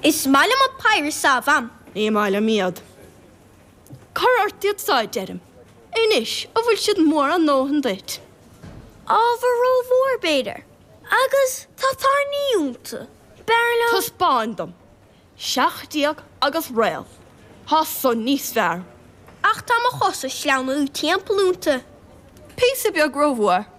Is maith liom an péire so, a Mham. Ní maith liom iad. Cuir ort iad so, a deirim. Anois, an bhfuil siad mór a ndóthain duit? Ábhar rómhór, b'fhéidir. Agus tá tairní iontu. B'fhearr liom. Taispeáin dom. 17 agus réal. Tá san níos fearr. Ach tá mo chosa ag sleamhnú timpeall iontu. Píosa beag rómhór.